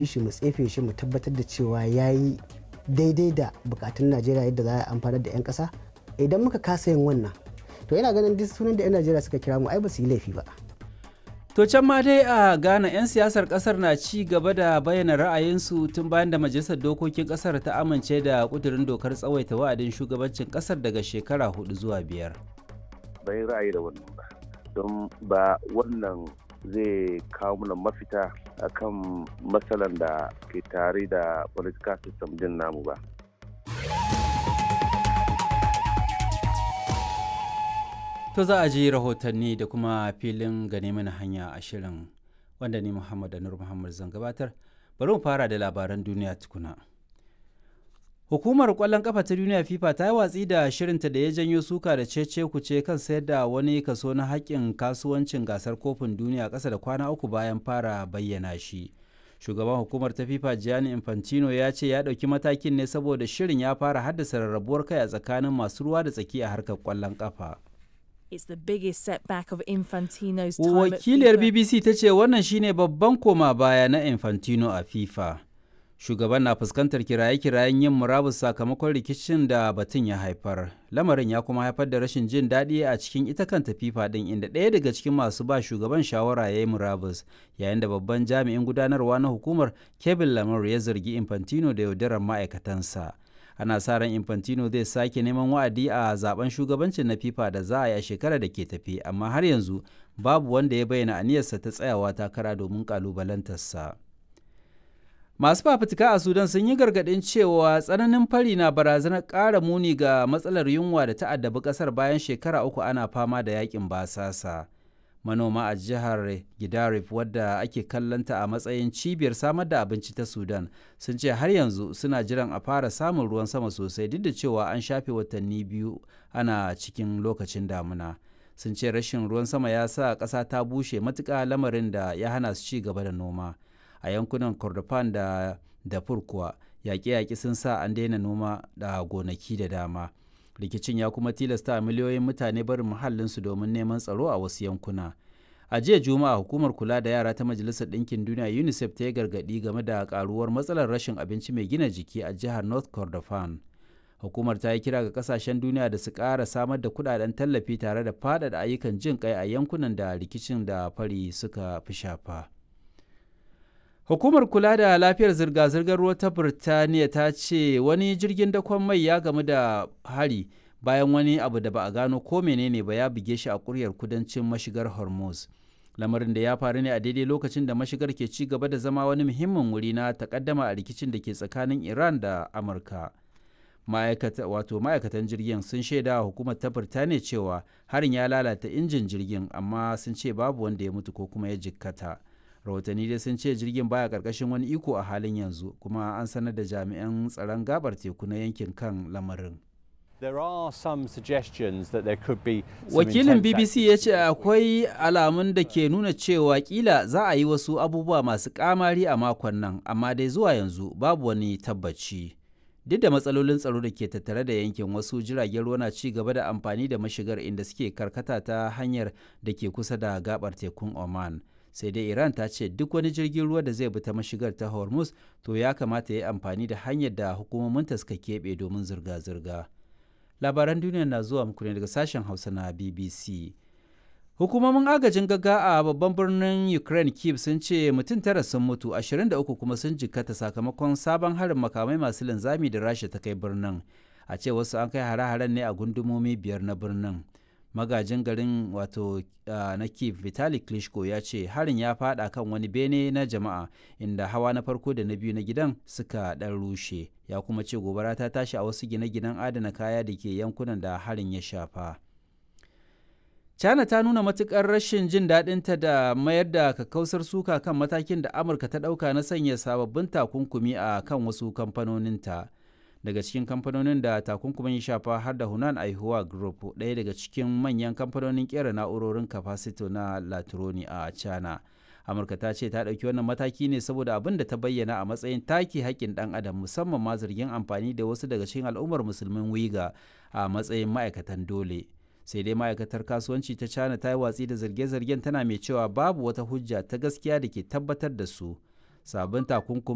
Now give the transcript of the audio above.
Shi mu tsefe shi mu tabbatar da cewa ya yi daidai da bukatun Najeriya yadda za a amfanar da 'yan ƙasa. Idan muka kasa yin wannan, to yana ganin duk sunan da 'yan Najeriya suka kira mu ai ba su yi laifi ba. To can ma dai a Ghana 'yan siyasar kasar na ci gaba da bayyana ra'ayinsu tun bayan da Majalisar Dokokin kasar ta amince da kudurin dokar tsawaita wa'adin shugabancin kasar daga shekara hudu zuwa biyar. Ban ra'ayi da wannan ba, don ba wannan zai kawo mana mafita akan matsalan da ke tare da political system din namu ba. To za a ji rahotanni da kuma filin gane mana hanya a shirin wanda ni Muhammad Anur Muhammad zan gabatar. Bari mu fara da labaran duniya tukuna. Hukumar kwallon kafa ta duniya FIFA ta yi watsi da shirinta da ya janyo suka da cece kuce kan sayar da wani kaso na haƙƙin kasuwancin gasar kofin duniya ƙasa da kwana uku bayan fara bayyana shi. Shugaban hukumar ta FIFA Gianni Infantino ya ce ya ɗauki matakin ne saboda shirin ya fara haddasa rarrabuwar kai a tsakanin masu ruwa da tsaki a harkar kwallon kafa. It's the biggest setback of Infantino's time Wakiliyar at FIFA. BBC ta ce wannan shine babban koma baya na Infantino a FIFA. Shugaban na fuskantar kiraye-kirayen yin murabus sakamakon rikicin da batun ya haifar. Lamarin ya kuma haifar da rashin jin daɗi a cikin ita kanta FIFA ɗin inda ɗaya daga cikin masu ba shugaban shawara ya yi murabus yayin da babban jami'in gudanarwa na hukumar Kevin Lamar ya zargi Infantino da yaudarar ma'aikatansa. Ana sa ran Infantino zai sake neman wa'adi a zaben shugabancin na FIFA da za a yi a shekarar da ke tafi, amma har yanzu babu wanda ya bayyana aniyarsa ta tsayawa takara domin kalubalantarsa. Masu fafutuka a Sudan sun yi gargaɗin cewa tsananin fari na barazanar ƙara muni ga matsalar yunwa da ta addabi ƙasar bayan shekara uku ana fama da yakin basasa. Manoma a jihar Gidarif wadda ake kallonta a matsayin cibiyar samar da abinci ta Sudan sun ce har yanzu suna jiran a fara samun ruwan sama sosai duk da cewa an shafe watanni biyu ana cikin lokacin damuna. Sun ce rashin ruwan sama ya sa ƙasa ta bushe matuƙa lamarin da ya hana su ci gaba da noma. A yankunan Kordofan da Darfur kuwa yaƙe-yaƙe sun sa an daina noma da gonaki da dama. Rikicin ya kuma tilasta miliyoyin mutane barin muhallinsu domin neman tsaro a wasu yankuna. A jiya Juma'a hukumar kula da yara ta Majalisar Ɗinkin Duniya UNICEF ta yi gargaɗi game da karuwar matsalar rashin abinci mai gina jiki a jihar North Kordofan. Hukumar ta yi kira ga kasashen duniya da su ƙara samar da kuɗaɗen tallafi tare da faɗaɗa ayyukan jin ƙai a yankunan da rikicin da fari suka fi shafa. Hukumar kula da lafiyar zirga-zirgar ruwa ta Birtaniya ta ce wani jirgin dakon mai ya gamu da hari bayan wani abu da ba a gano ko menene ba ya buge shi a kuryar kudancin mashigar Hormuz. Lamarin da ya faru ne a daidai lokacin da mashigar ke ci gaba da zama wani muhimmin wuri na takaddama a rikicin da ke tsakanin Iran da Amurka. Ma'aikata wato ma'aikatan jirgin sun shaida wa hukumar ta Birtaniya cewa harin ya lalata injin jirgin amma sun ce babu wanda ya mutu ko kuma ya jikkata. Rahotanni dai sun ce jirgin baya karkashin wani iko a halin yanzu kuma an sanar da jami'an tsaron gabar teku na yankin kan lamarin. There are some suggestions that there could be some Wakilin intense BBC ya ce akwai alamun da ke nuna cewa kila za a yi wasu abubuwa masu kamari a makon nan, amma dai zuwa yanzu babu wani tabbaci. Duk da matsalolin tsaro da ke tattare da yankin, wasu jiragen ruwa na ci gaba da amfani da mashigar inda suke karkata ta hanyar da ke kusa da gabar tekun Oman. Sai dai Iran ta ce duk wani jirgin ruwa da zai bi ta mashigar ta Hormuz to ya kamata ya yi amfani da hanyar da hukumominta suka keɓe domin zirga-zirga. Labaran duniya na zuwa muku ne daga sashen Hausa na BBC. Hukumomin agajin gaggawa a babban birnin Ukraine Kyiv sun ce mutum tara sun mutu, 23 kuma sun jikkata sakamakon sabon harin makamai masu linzami da Rasha ta kai birnin. A ce wasu an kai hare-haren ne a gundumomi biyar na birnin. Magajin garin wato na Kyiv Vitali Klitschko ya ce harin ya fada kan wani bene na jama'a inda hawa na farko da na biyu na gidan suka dan rushe. Ya kuma ce gobara ta tashi a wasu gine-ginen adana kaya da ke yankunan da harin ya shafa. China ta nuna matukar rashin jin daɗinta da mayar da kakkausar suka kan matakin da Amurka ta ɗauka na sanya sababbin takunkumi a kan wasu kamfanoninta. Daga cikin kamfanonin da takunkumin ya shafa har da Hunan Aihuwa Group, ɗaya daga cikin manyan kamfanonin kera na'urorin kafasito na Latroni a China. Amurka ta ce ta ɗauki wannan mataki ne saboda abin da ta bayyana a matsayin take haƙƙin ɗan adam, musamman ma zargin amfani da wasu daga cikin al'ummar musulmin Uyghur a matsayin ma'aikatan dole. Sai dai ma'aikatar kasuwanci ta China ta yi watsi da zarge-zargen, tana mai cewa babu wata hujja ta gaskiya da ke tabbatar da su. Sabon takunkumin